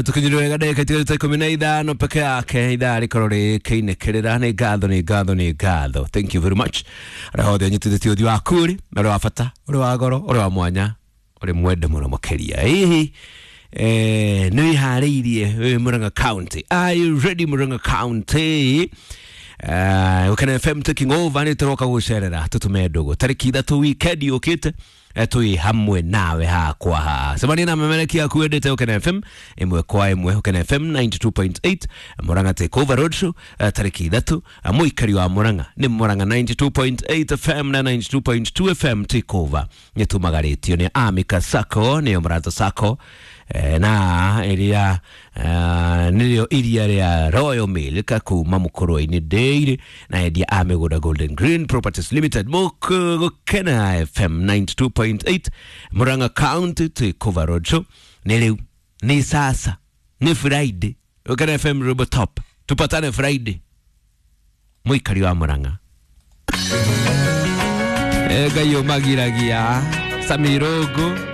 Tukinyire wega ndagĩka itigarĩte 15 peke yake ithaa rĩkorwo rĩkĩinĩkĩrĩra. Nĩ ngatho, nĩ ngatho, nĩ ngatho. Thank you very much arĩa othe anyitithĩtie ũthiũ waku rĩ na ũrĩ wa bata, ũrĩ wa goro, ũrĩ wa mwanya, ũrĩ mwende mũno makĩria. Hihi nĩ wĩharĩirie wĩ Murang'a County? Are you ready, Murang'a County? Gukena FM taking over, nĩ tũroka gũcerera tũtũme ndũgũ tarĩki 3 weekend yũkĩte. Twĩ hamwe nawe hakwa haha. Cemania na memereki yaku wendete Gukena FM ĩmwe kwa ĩmwe. Gukena FM 92.8 Murang'a Take Over Road Show, tarĩki 3. Mũikari wa Murang'a, nĩ Murang'a 92.8 FM na 92.2 FM Take Over nĩ tumagarĩtio nĩ Amika Sacco, nĩyo Mũrata Sacco, na ĩrĩa nĩrĩo iria rĩa Royal Milk kuma Mũkũrwe-inĩ Dairy na endia a mĩgũnda Golden Green Properties Limited. Gũkena FM 92.8 Murang'a County Take Over Road Show nĩ rĩu, nĩ sasa, nĩ Friday. Gũkena FM Robotop, tupatane Friday, mũikari wa Murang'a. Ngai ũmagiragia Samirungu.